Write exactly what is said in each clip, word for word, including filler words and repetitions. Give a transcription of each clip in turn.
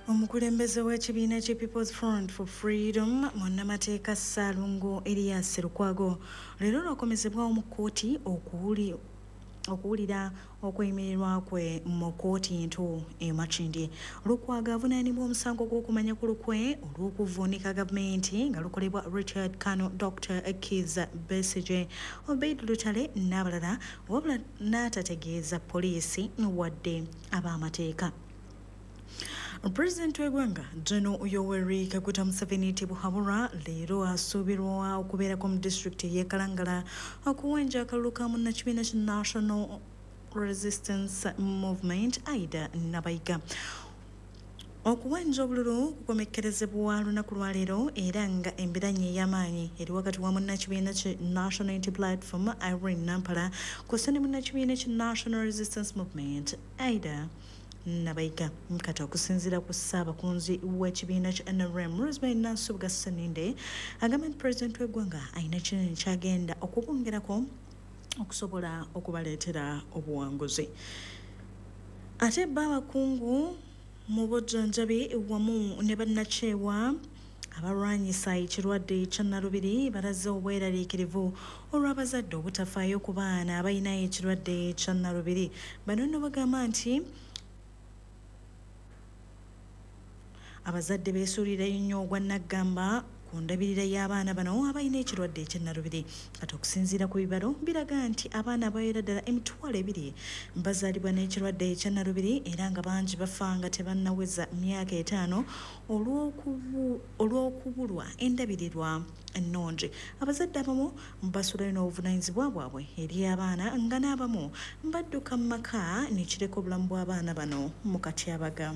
Omukulembeze w'ekibiina kye People's Front for Freedom, munnamateeka Ssaalongo Erias Lukwago, leero lwakomezebwawo mu kkooti okuwuli okuwulira okweyimirirwa kwe mu kkooti ento e Makindye. Lukwago avunaanibwa omusango gw'okumanya ku lukwe olw'okuvvuunika gavumenti nga lukolebwa Richard Kano, Doctor Kizza Besigye, Obeid Lutale n'abalala, wabula n'atategeeza poliisi wadde ab'amateeka. Pulezidenti w'eggwanga General Yoweri Kaguta Museveni Tibuhaburwa leero asuubirwa okubeerako mu disitulikiti ey'e Kalangala okuwenja akalulu ka munnakibiina kya National Resistance Movement Aida Nabayiga. Okuwenja obululu kukomekkerezebwa lunaku lwaleero era nga embiranye ey'amaanyi eri wakati wa munnakibiina ki National Unity Platform Irene Nampala kw'ossa ne munnakibiina ki National Resistance Movement Aida Nabayiga. Kati okusinziira ku ssaabakunzi w'ekibiina kya N R M Rosemary Nansubuga Sseninde, agamba nti pulezidenti w'eggwanga alina kinene ky'agenda okubongerako okusobola okubaleetera obuwanguzi. Ate bo abakungu mu bujjanjabi wamu ne bannakyewa abalwanyisa ekirwadde kya Nalubiri balaze obweraliikirivu olw'abazadde obutafaayo ku baana abalina ekirwadde kya Nalubiri. Bano nno bagamba nti abazadde beesuulirayo nnyo ogwa nnaggamba ku ndabirira y'abaana bano abalina ekirwadde eky'ennalubiri. Kati okusinziira ku bibalo biraga nti abaana abawerera ddala emitwalo ebiri bazaalibwa n'ekirwadde eky'ennalubiri era nga bangi bafa nga tebannaweza myaka etaano olw'okubulwa endabirirwa ennungi. Abazadde abamu basulayo n'obuvunaanyizibwa bwabwe eri abaana nga n'abamu badduka mu maka ne kireka obulamu bw'abaana bano mu katyabaga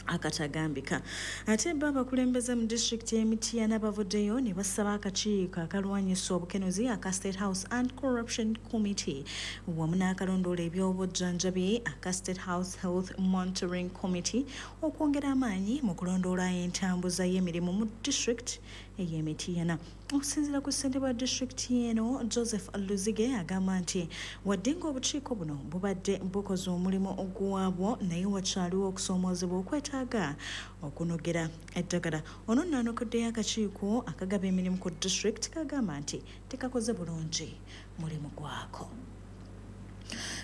akatagambika. Ate bo abakulembeze mu disitulikiti y'e Mityana bavuddeyo ne basaba akakiiko akalwanyisa obukenuzi aka State House Anti-Corruption Committee wamu n'akalondoola ebyobujjanjabi aka State House Health Monitoring Committee okwongera amaanyi mu kulondoola entambuza y'emirimu mu disitulikiti ey'e Mityana. Okusinziira ku ssentebe wa disitulikiti eno Joseph Luzige agamba nti wadde ng'obukiiko buno bubadde bukoze omulimu gwabwo, naye wakyaliwo okusoomoozebwa okwetaaga okunogera eddagala. Ono nno anokoddeyo akakiiko akagaba emirimu ku disitulikiti kagamba nti tekakoze bulungi mulimu gwako.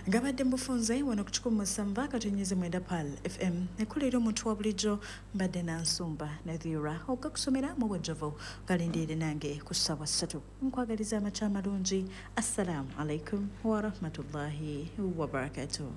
Gabadde mbufunze wano ku kikumi musanvu akatonyeze mwenda Pearl F M ekolera omuntu wa bulijjo mbadde Nansumba Nadhira okakusomera mu bwejjovu galindirire nange ku ssaawa ssatu. Nkwagaliza amakya amalungi. Assalaamu alaikum warahmatullahi wabarakatuh.